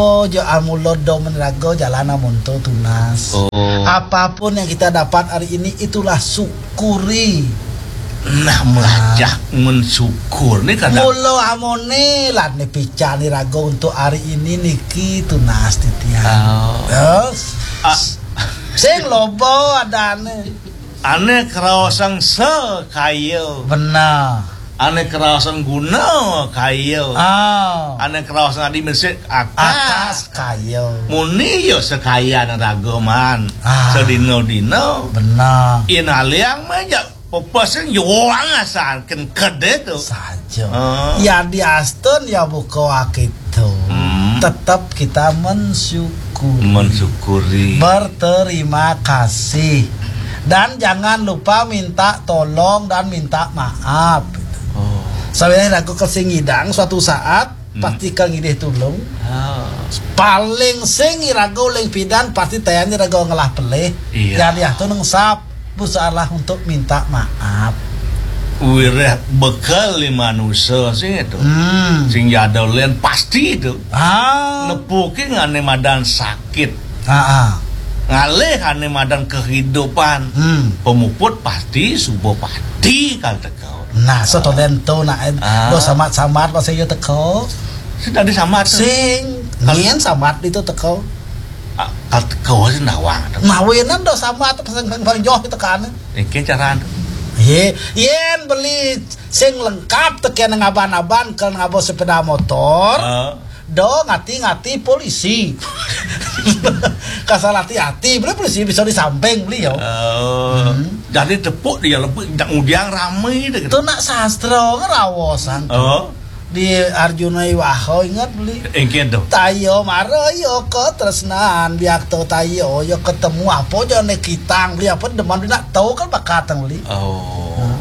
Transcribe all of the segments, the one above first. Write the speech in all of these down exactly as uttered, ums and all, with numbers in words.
Oh, jo amulod do menrago jalan amonto tunas. Oh. Apapun yang kita dapat hari ini, itulah syukuri. Nah, melajah mensyukur ni kadang. Mula amone lan ni pican ni rago untuk hari ini niki tunas titiang. Oh. Terus, ah, sing loba adane. Ane kraosang sekaya. Benar. Ane kraosang guna kaya. Ah. Ane kraosang adi mesik akas. Akas kaya. Muni ya sekayan raga man. Ah. Sedina-dina. Benar. Yen aliang mah ya pepes sing yuang asan ken kede tu. Saja. Ah. Ya diastun ya buka akitu. Hmm. Tetap kita mensyukur. Mensyukuri. Berterima kasih. Dan jangan lupa minta tolong dan minta maaf. Oh. Sawiréh raga ka sing ngidang suatu saat, hmm, pasti ka ngidih tulung. Ah. Paling sing iraga uling pidan, pasti tayane raga ngelah pelih. Iya. Yan yah tu neng sap, berusahalah untuk minta maaf. Wiréh bekel di manusa sing itu. Hmm. Sing jadul len pasti itu. Ah. Nepuki ngane madan sakit. Ah, ah. Ngalih ane madan kehidupan. Hmm. Pemuput pasti suba pati kal teka. Nah, satonden to nak, ah, do samat-samat pasal iya teka. Sing tadi samat tu. Sing, kal- nyen samat itu teka. Ah, kal teka sing nawang tu. Mawinan do samat pasal bang, bang joh itu kan. Iki caran tu. Ye, yen beli sing lengkap teken ngaban-aban kal ngabo sepeda motor. Ah. Do ngati-ngati polisi. Kasal hati-hati, beli polisi bisa di samping beli ya. Oh. Hmm. Jadi tepuk dia lebih ndak ngudiang ramai deh gitu. Tu nak sastra ngerawosan tu. Oh. Di Arjuna Iwaho ingat beli. Engken tu. Tayo mara yo ke tresnan biak tu tayo yo ketemu apa je ne kitang beli apa deman beli nak tahu kan bakatang beli. Oh. Hmm.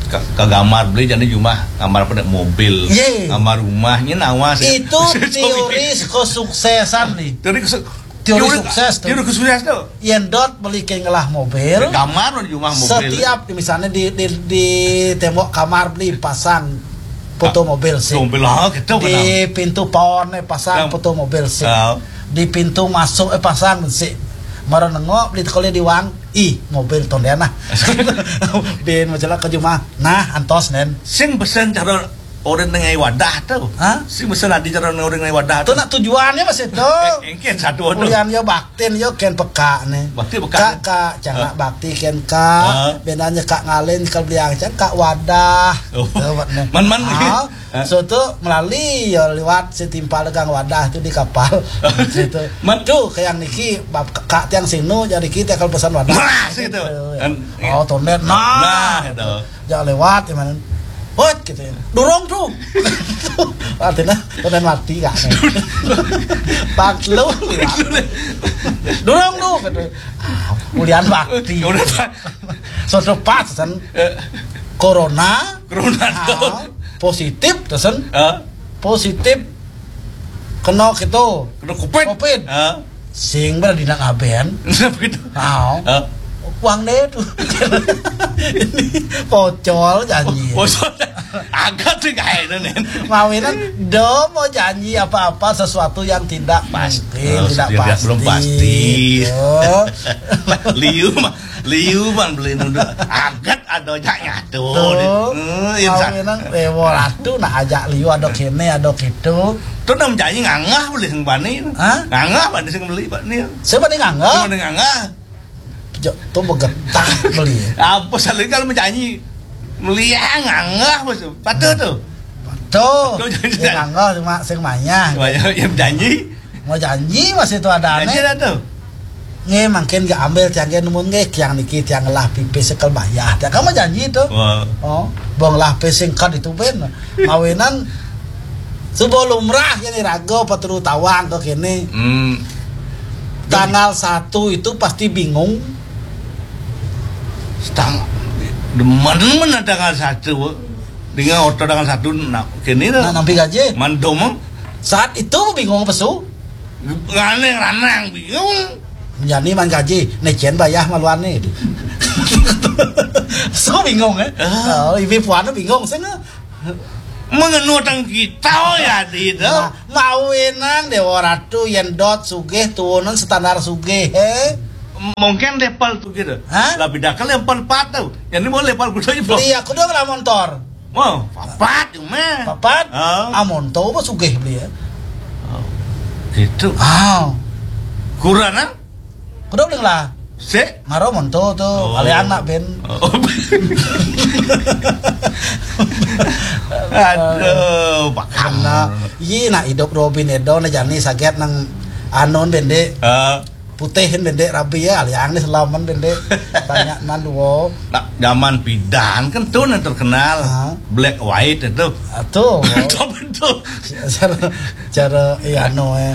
Ka, ka gambar beli jadi jumah gambar apa nek mobil. Ye. Gambar rumahnya nawa sih. Itu teori kesuksesan nih. Teori kesu-, teori teori, sukses tu. Teori sukses tu. Yen dot beli ke ngelah mobil. Gambar di jumah mobil. Setiap misalnya di di, di tembok kamar beli pasang foto mobil sih. Mobil lah gitu. Di pintu paon pasang foto mobil sih. Ah. Di pintu masuk eh pasang sih. Mara nengok beli tekole di wang. Ih, mobil tonden nah. Bin majalah ke jumah. Nah, antos nen. Sing besen cara orang nengah wadah tu. Hah? Sing besen adi cara orang nengah wadah tu. Tu nak tujuannya masih tu. Engken satu tu. Kulian yo baktin yo ken peka ne. Bakti peka. Kak, kak, cangak bakti ken kak. Bedanya kak ngalin kal beliang cang kak wadah. Oh. Man, man. So tu melalui ya lewat setimpal gang wadah tu di kapal. Situ. Man. Tu kayak niki bab kak tiang sinu jadi kita kalau pesan wadah. Nah, situ. Oh, tonden. Nah, itu. Jangan lewat ya mana. Hot gitu ya. Dorong tu. Artinya tonden mati kak. Pak lu lewat. Dorong tu gitu. Ah, kulian bakti. Udah, Pak. Suatu pas kan. Corona. Corona. Ah, positif tuh sen. Positif kena gitu. Kena covid. Covid. Sing berada di nak aben. Begitu. Ah. Uang deh tuh. Ini pocol janji. Pocol. Agak tuh kayak itu nih. Mawinan do mau janji apa-apa sesuatu yang tidak pasti, belum pasti. Liu mah, liu mah beli nunda. Agak ada jak nyatu. Tuh. Kawinan rewo ratu nak ajak liu ada kene ada kitu. Tu nam janji ngangah boleh sing bani. Hah? Ngangah bani sing beli bani. Siapa nih ngangah? Siapa nih ngangah? Jo, tu begetah beli. Apa saling kalau menjanji meliang ngangah bos. Patut tu. Patut. Patut janji. Ngangah cuma sing manyah. Manyah yang janji. Mau janji masih tu ada aneh. Janji dah tu. Nge mangkin gak ambil tiang nge nemu nge kiang niki tiang lah pipis sekel bayah. Tiang kamu janji tu. Oh, bong lah pipis singkat itu ben. Mawinan subo lumrah yang iraga paturu tawang ke kene. Hmm. Tanggal satu itu pasti bingung. Setang demen mana tanggal satu. Dengan oto tanggal satu nak kene tu. Nak nampi gaji. Mandom. Saat itu bingung pesu. Ranang-ranang bingung. Jani man gaji, necen bayah maluan ni. So bingung eh. Oh, ibu puan bingung sih. Mengenu tang kita ya di itu. Nah, mawinan Dewa Ratu yen dot sugih turunan standar sugih, he? Mungkin level tuh gitu. Hah? Lebih dah ke level empat tuh. Jadi mau level kuda itu. Beli aku dong lah montor. Mau papat cuma. Papat? Ah. Ah, montor apa sugih beli ya? Oh, gitu. Ah. Kurang ah? Kuda beli lah. Sik. Maro monto tuh, oh, kali anak ben. Oh. Aduh, Pak. Nah, iya nak hidup Robin Edo nah jani saget nang anon bendek. Ah. Putihin bendek rabi ya, aliang nih selaman bendek. Banyak nan duo. Nah, zaman pidan kan tuh yang terkenal. Ah. Black white itu. Ah, tuh. Itu betul. Cara, cara, iya, anu, eh.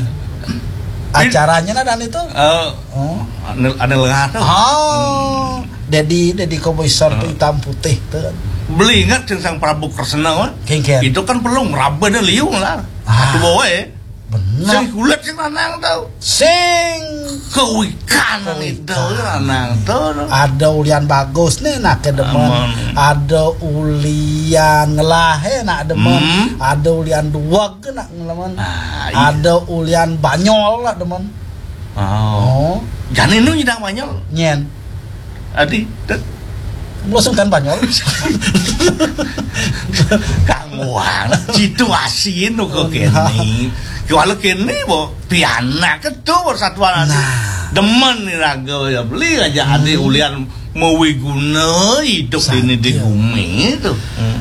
Acaranya nah dan itu. Eh, oh. Ada, ada lengah tuh. Oh. Dedi, Dedi Kobuser tuh hitam putih tuh. Beli ingat sing Sang Prabu Kresna, kan? Kengken. Itu kan perlu meraba ada liung lah. Ah. Aku bawa ya. Benar. Sing kulit sing lanang tuh. Sing kawikan itu lanang tuh. Ada ulian bagus nih nak demen. Aman. Ada ulian ngelahe nak demen. Hmm. Ada ulian duweg nak ngelaman. Ah, iya. Ada ulian banyol nak demen. Oh. Oh. Jani nu nyidang banyol. Nyen. Adi, tet. Langsung kan banyol. Kang Wang, situasi nu ke kene. Kalau kene bo pianak itu persatuan. Nah. Demen nih raga ya beli aja adi ulian mau guna hidup ini di bumi itu. Hmm.